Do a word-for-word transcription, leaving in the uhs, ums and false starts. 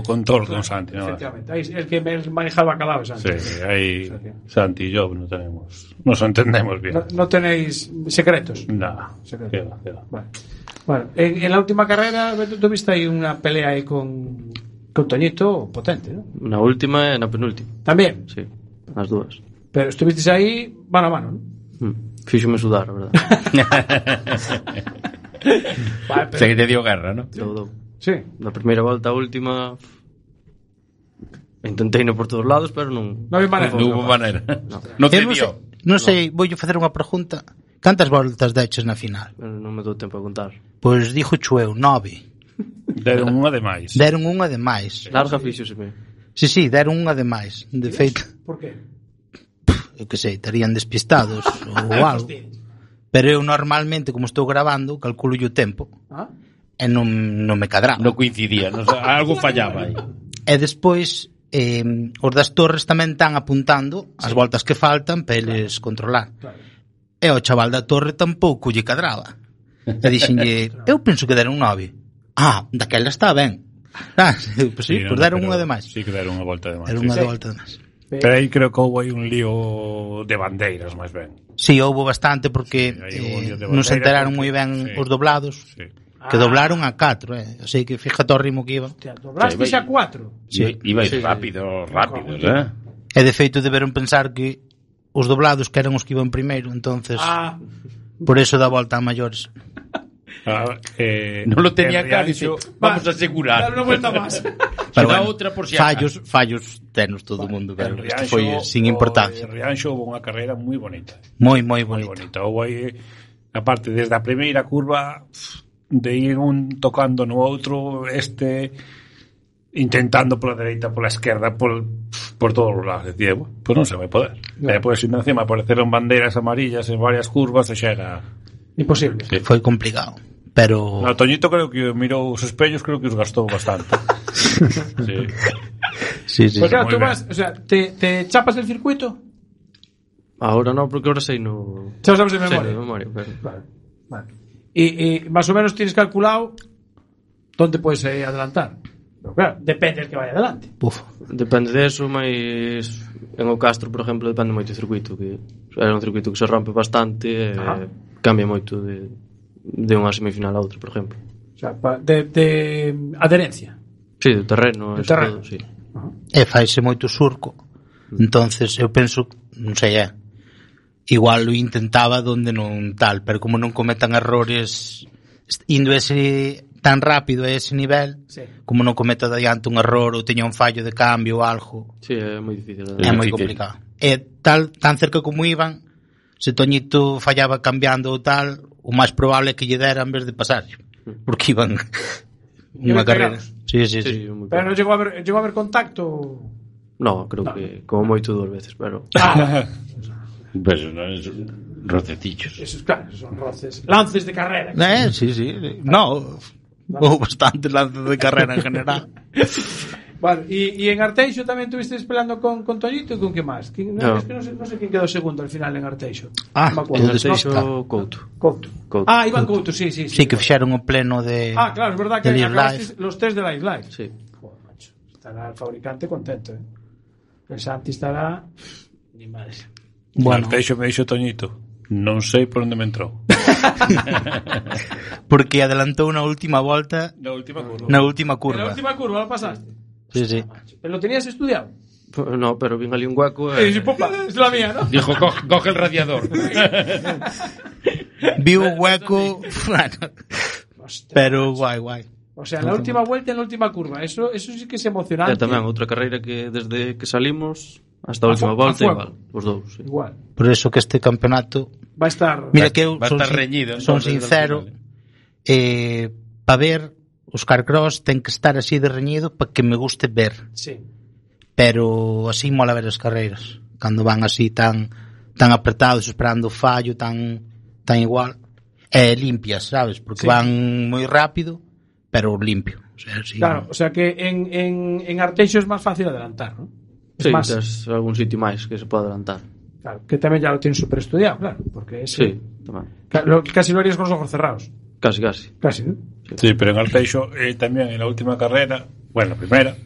control con Santi, ¿no? Efectivamente, ahí el que maneja el bacalao es Santi. Sí, ahí o sea, que... Santi y yo no tenemos, nos entendemos bien. No, no tenéis secretos. Nada, secretos. Queda, queda. Vale. Bueno, en, en la última carrera tuviste ahí una pelea ahí con, con Toñito potente, ¿no? Na última e na penúltima. También. Sí, as dúas. Pero estuvisteis ahí mano a mano, ¿no? Mm. Fíxome sudar, a verdade. Vale, pero... O sea que te dio guerra, ¿no? Todo. Sí. Na primeira volta a última intentei no por todos lados, pero non non maneira. Non hubo maneira. No, no te non dio. Sei, non sei, voulle facer unha pregunta. Cantas voltas deches na final? Pero non me dou tempo a contar. Pois dixo chueu, nove. Deron unha de máis. Deron unha de máis. Larga fíxoseme. Sí, sí, deron unha de máis. De feito. Por qué? Eu que sei, estarían despistados ou algo. Pero eu normalmente, como estou grabando, calculo o tempo. Ah? E non, non me cadraba. Non coincidía, non, algo fallaba aí. E despois eh, os das torres tamén están apuntando as voltas que faltan para eles controlar. Claro. E o chaval da torre tampouco lle cadraba. E dixenlle, eu penso que deron nove. Ah, daquela está ben. Ah, pues sí, sí, pues deron unha de máis. Sí que deron unha volta de máis. Deron unha sí. de volta de máis. Pero aí creo que houve un lío de bandeiras, máis ben. Sí, houve bastante porque sí, eh, non se enteraron moi ben sí. os doblados. Sí. Que doblaron a catro, eh. Así que fíjate o ritmo que iba. Hostia, doblaste sí, xa cuatro. Sí, iba sí. rápido, rápido, eh. E de feito deberon pensar que os doblados que eran os que iban primeiro, entonces ah. por eso dá volta a maiores. Ah, eh, non lo tenía claro, dice, vamos a asegurar. Dar unha vuelta máis. Pero bueno, outra por si fallos, fallos tenos todo o mundo, pero isto foi sin importancia. En Rianxo houve unha carreira moi bonita. Moi, moi bonita. Moi bonita. Houve aí, aparte, desde a primeira curva, de ir un tocando no outro, este intentando pola dereita, pola esquerda, por, por todos os lados. Decía, bueno, pues non se vai poder. No. E depois, encima, apareceron bandeiras amarillas en varias curvas e xa era... Imposible. Sí. Foi complicado. Pero... No, Toñito creo que mirou os espellos, creo que os gastou bastante. Sí. Sí, sí. Pues claro, tú vas, o sea, te, te chapas del circuito? Ahora no, porque ahora sei no... Xa sabes de memoria. Sí, de memoria, pero... Vale, vale. Y, y más o menos tienes calculado dónde puedes eh, adelantar. Pero claro, depende del que vaya adelante. Uf. Depende de eso, mas en o Castro, por exemplo, depende moito do circuito, que era un circuito que se rompe bastante e eh, cambia moito de, de unha semifinal a outra, por exemplo. O sea, de, de adherencia. Sí, de terreno, de terreno. Todo, sí. Uh-huh. E faise moito surco. Entonces, eu penso, non sei, é, igual lo intentaba donde non tal, pero como non cometan errores indo ese tan rápido a ese nivel, sí. Como non cometa de adiante un error ou teña un fallo de cambio ou algo. Sí, é moi difícil. É, é moi complicado. E tal, tan cerca como iban, se Toñito fallaba cambiando ou tal, o máis probable é que lle dera en vez de pasar, porque iban unha carrera. Sí, sí, sí. sí. Pero non chegou a haber, chegou a haber contacto? No, creo no. que como moito dúas veces, pero... Ah. Pues no, es rocecillos. Esos, claro, son roces. Lances de carrera. Eh, sí, sí. No, hubo bastantes lances de carrera en general. Vale, y, y en Arteixo tamén estuviste peleando con, con Toñito y con qué más. ¿Quién, no, no. Es que no sé, no sé quién quedó segundo al final en Arteixo. Ah, no en Arteixo no, Couto. Couto. Couto. Ah, Iván Couto, sí, sí. Sí, sí que fixeron o pleno de... Ah, claro, es verdad que acabaste los test de Live Live. Sí. Joder, macho. Estará el fabricante contento, ¿eh? El Santi estará... Ni madre. Bueno. Arteixo me dixo Toñito. Non sei por onde me entrou. Porque adelantou na última volta. Na última curva. Na última curva. En la última curva lo pasaste. Sí, sí. ¿Pero lo tenías estudiado? No, pero vin ali un hueco. Eh... Sí, popa, es la mía, ¿no? Dijo, coge, coge el radiador. Vi un hueco. Bueno. Pero guay, guay. O sea, en la última vuelta, en la última curva. Eso, eso sí que es emocionante. E tamén outra carreira que desde que salimos hasta a última a volta igual, os dous. Sí. Igual. Por eso que este campeonato va a estar. Mira que eu va a son, estar reñido, son sincero, eh, para ver os Carcross ten que estar así de reñido para que me guste ver. Sí. Pero así mola ver as carreiras cando van así tan tan apretados, esperando o fallo tan tan igual. E eh, limpias, sabes? Porque sí. Van moi rápido, pero limpio. O sea, sí. Claro, o sea que en, en, en Arteixo es más fácil adelantar, ¿no? Es sí, más... es algún sitio máis que se pode adelantar. Claro, que tamén ya lo tienes super estudiado, claro, porque ese... Sí, tamén. Casi lo harías con los ojos cerrados. Casi, casi. Casi, ¿no? Sí, sí, pero en Arteixo eh, tamén en la última carrera Bueno, a primeira.